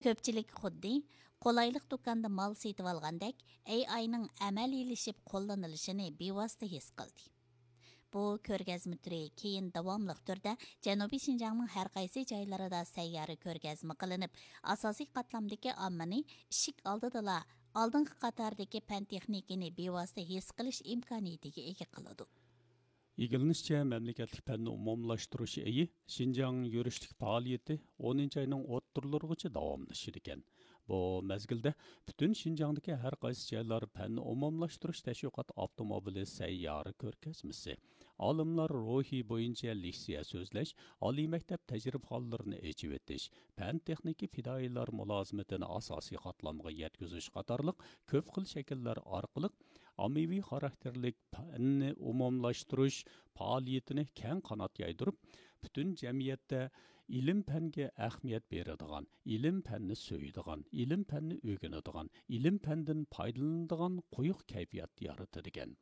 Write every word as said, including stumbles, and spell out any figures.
كۆپچىلىك خۇددى قولايلىق دۇكاندا مال سېتىۋالغاندەك، ئەي ئاينىڭ ئەمەلىيلىشىپ قوللىنىلىشىنى بىۋاسىتە ھېس قىلدى. بۇ كۆرگەزمە تۈرى كېيىن داۋاملىق تۈردە جەنۇبىي شىنجاڭنىڭ ھەر قايسى جايلىرىدا سەييارە كۆرگەزمە قىلىنىپ، ئاساسىي قاتلامدىكى ئاممىنى ئىشىك ئالدىدىلا ئالدىنقى قاتاردىكى پەن تېخنىكىنى بىۋاسىتە ھېس قىلىش ئىمكانىيىتىگە ئىگە قىلىدۇ. ئىگىلىنىشىچە، مەملىكەتلىك پەننى ئومۇملاشتۇرۇش ئېيى شىنجاڭ يۈرۈشلۈك پائالىيىتى ئونىنچى ئاينىڭ ئوتتۇرىلىرىغىچە داۋاملىشىدىكەن. بۇ مەزگىلدە پۈتۈن شىنجاڭدىكى ھەر قايسى جايلار پەننى ئومۇملاشتۇرۇش تەشۋىقات ئاپتوموبىلى سەييارە كۆرگەزمىسى، ئالىملار روھى بويىچە لېكسىيە سۆزلەش، ئالىي مەكتەپ تەجرىبىخانلىرىنى ئېچىۋېتىش، پەن تېخنىكا پىدائىيلار مۇلازىمىتىنى ئاساسىي قاتلامغا يەتكۈزۈش قاتارلىق كۆپ خىل شەكىللەر ئارقىلىق ئاممىۋى خاراكتېرلىك پەننى ئومۇملاشتۇرۇش پائالىيىتىنى كەڭ قانات يايدۇرۇپ، پۈتۈن جەمئىيەتتە ئىلىم-پەنگە ئەھمىيەت بېرىدىغان، ئىلىم-پەننى سۆيىدىغان، ئىلىم-پەننى ئۆگىنىدىغان، ئىلىم-پەندىن پايدىلىنىدىغان قويۇق كەيپىيات يارىتىدىكەن.